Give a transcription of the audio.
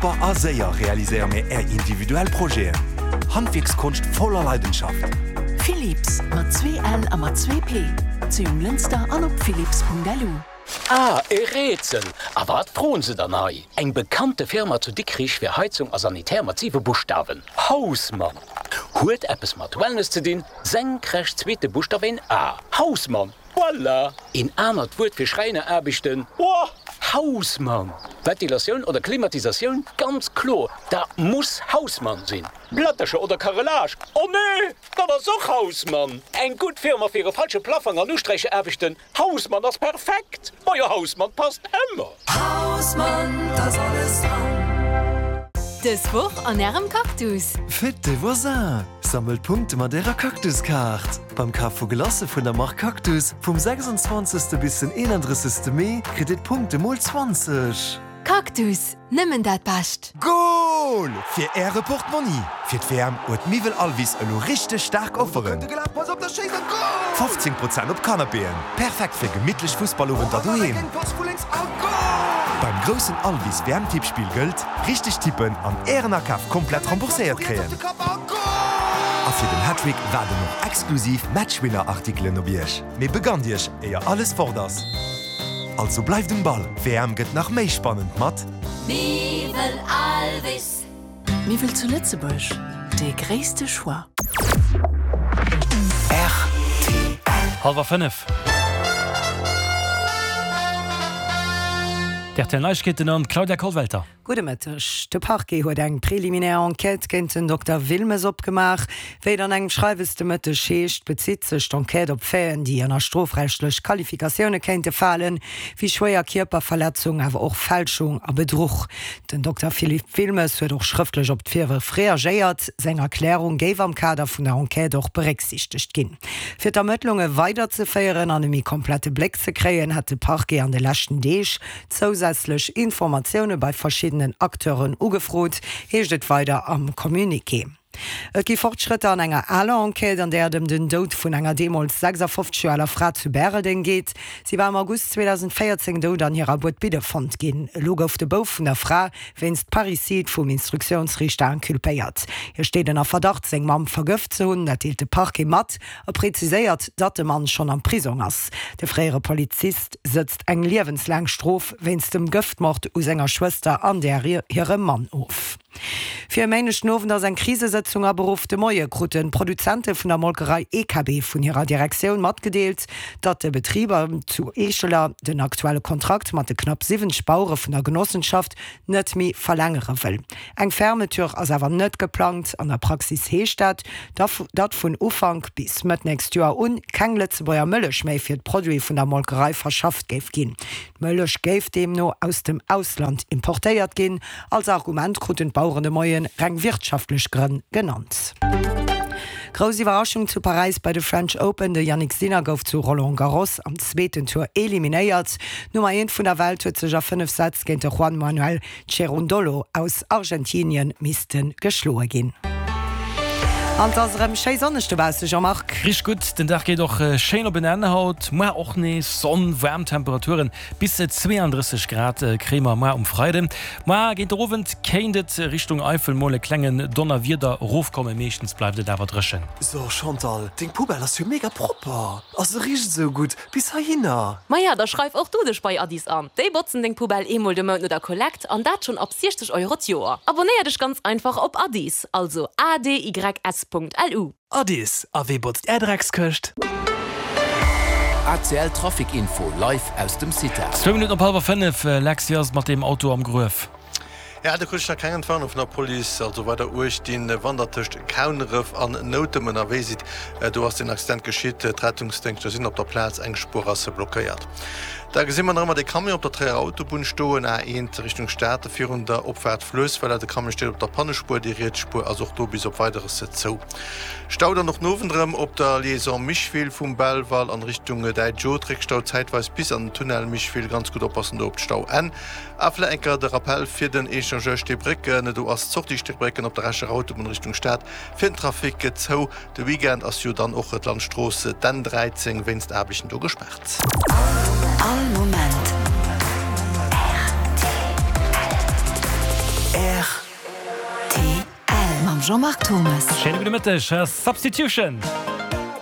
Propper a séier realiséiere mir Är individuell Projeten. Handwierkskonscht voller Leidenschaft. Philips, mat 2 L a mat 2 P, zu Jonglënster an op philips.lu. Ah, e Rätsel! A wat froen se dann hei? Eng bekannte Firma zu Dikrich fir Heizung a Sanitär mat 7 Buschtawen, Hausmann! Huet eppes mat Wellness ze dinn, senkrecht zweete Buschtaf een A, Hausmann! Voilà! Een anert Wuert fir Schräineraarbechten, Ohh! Hausmann! Ventilatioun oder Klimatisatioun, ganz kloer, dat muss Hausmann sinn! Plättercher oder Carrelage, Oh nee! Dat ass och Hausmann! Eng gutt Firma fir e falsche Plaffang an Usträicheraarbechten, Hausmann ass perfekt! Majo Hausmann passt ëmmer! Hausmann, t'ass alles dran! Dës Woch an Ärem Cactus! Fête des voisins! Sammelt Punkte mat Ärer Cactus-Kaart! Beim Kaf vu Glacë vun der Mark Cactus vum 26. bis den 31. Mee kritt Dir d'Punkte mol 20! Cactus, nëmmen dat Bescht! Goal fir äre Portmonni! Fir d'WM huet Miwwel Alvis elo richteg staark Offeren! 15 Prozent op Canapéen, perfekt fir gemittlech Fussballowenter doheem! Beim groussen Alvis WM Tippspill gëllt, Richteg tippen an ären Akaf komplett rembourséiert kréien! A fir den Hattrick waarden och exklusiv Matchwinner Artikelen op iech! Mee begannt iech éier alles fort ass! Also bleift um Ball, d'WM gëtt nach méi spannend mat. Miwwel Alvis. Miwwel zu Lëtzebuerg, dee gréisste Choix. Rtl. Hallwer 5. D'RTL Neiegkeeten an d'Claudia Kollwelter. Gudde Mëtteg. De Parquet huet eng preliminär Enquête géint den Dokter Wilmes opgemaach. Wéi et an engem Schreiwes de Mëtteg heescht, bezitt sech d'Enquête op Faiten, déi ënner strofrechtlech Qualifikatioune kéinte falen, wéi schwéier Kierperverletzung, awer och Fälschung a Bedruch. Den Dokter Philippe Wilmes huet och schrëftlech op d'Virwërf reagéiert. Seng Erklärung géif am Kader vun der Enquête och berécksiichtegt ginn. Fir d'Ermëttlunge weiderzeféieren an e méi komplette Bléck ze kréien, hätt de Parquet an de leschten Deeg Zousätzlech Informatioune bei verschiddenen Acteuren ugefrot, heescht et weider am Communiqué. Et gi Fortschrëtter an enger aler Enquête, an där et ëm den Doud vun enger deemools 56 Joer aler Fra zu Bäreldeng geet. Si war am August 2014 dout an hirer Buedbidde fonnt ginn. Elo gouf de Bouf vun der Fra wéinst Parricide vum Instruktiounsriichter inculpéiert. Hie steet ënner Verdacht, seng Mamm vergëft ze hunn. Dat deelt de Parquet mat a preziséiert, datt de Mann schonn am Prisong ass. De fréiere Polizist sëtzt eng liewenslaang Strof wéinst dem Gëftmord u senger Schwëster an där hirem Mann of. Fir e Méindeg den Owend ass eng Krisesëtzung aberuff. De Moie kruten d'Produzente vun der Molkerei EKB vun hirer Direktioun matgedeelt, datt de Betriber zu Eescheler den aktuelle Kontrakt mat de knapp 70 Bauere vun der Genossenschaft net méi verlängere wëll. Eng Fermeture ass awer net geplangt. An der Praxis heescht dat, datt vun Ufank bis Mëtt nächst Joer un keng Lëtzebuerger Mëllech méi fir d'Produite vun der Molkerei verschafft géif ginn. D'Mëllech géif deemno aus dem Ausland importéiert ginn. Als Argument kruten d'Baueren de Moie reng wirtschaftlech Grënn genannt. Grouss Iwwerraschung zu Paräis bei de French Open, De Jannik Sinner gouf zu Roland Garros am zweeten Tour eliminéiert. D'Nummer eent vun der Welt huet sech a 5 Sätz géint de Juan Manuel Cerundolo aus Argentinien misste geschloe ginn. An 't ass erëm schéi sonneg dobausse, Jean-Marc. Richteg gutt, den Dag geet och schéin op en Enn haut. Muar och nees Sonn, waarm Temperaturen, bis 32 Grad kréie mer muar um Freiden. Muar géint der Owend kéint et Richtung Eifel mol e klengen Donnerwieder erofkommen, meeschtens bleift et awer dréchen. So Chantal, deng Poubelle ass jo mega propper a se richt esou gutt bis heihinner. Maja, da schreif och du dech bei Addis an. Déi botzen deng Poubelle eemol de Mount no der Kollekt an dat schonn ab 60 Euro d'Joer. Abonéier dech ganz einfach op Addis, also adys.lu. Addis, a wee botzt är Dreckskëscht? ACL Trafic Info live aus dem CITA. Zwou Minutten op hallwer 5, Lex, wéi ass et mat deem Auto am Gruef? Ja, do krut ech nach keng Entwarnung vun der Police. Also weider Uecht dinn, wann der tëscht Kauneref an Noutem ënnerwee sidd. Do ass den Accident geschitt. D'Rettungsdéngschter sinn op der Plaz, eng Spuer ass blockéiert. Da gesi mer nach ëmmer de Camion op der Tréierer Autobunn stoen, A1 Richtung Stad, virun der Opfaart Fluessweller. De Camion steet op der Pannespuer, déi riets Spuer ass och do bis op Weideres zou. Stau dann och den Owend erëm op der Liaison Micheville vum Belval an Richtung Däitsch Haut. Réckstau zäitweis bis an den Tunnel Micheville. Ganz gutt oppassen do op d'Stauenn. A vläit eng Kéier de Rappell fir den Echangeur Steebrécken, Do ass d'Sortie Steebrécken op der Escher Autobunn Richtung Stad fir den Trafic zou. De Weekend ass jo dann och d'Landstrooss, d'N 13, wéinst Aarbechten do gespaart. All Moment rtl. Rtl mam Jean-Marc Thomas. Schéine gudde Mëtteg. Substitution.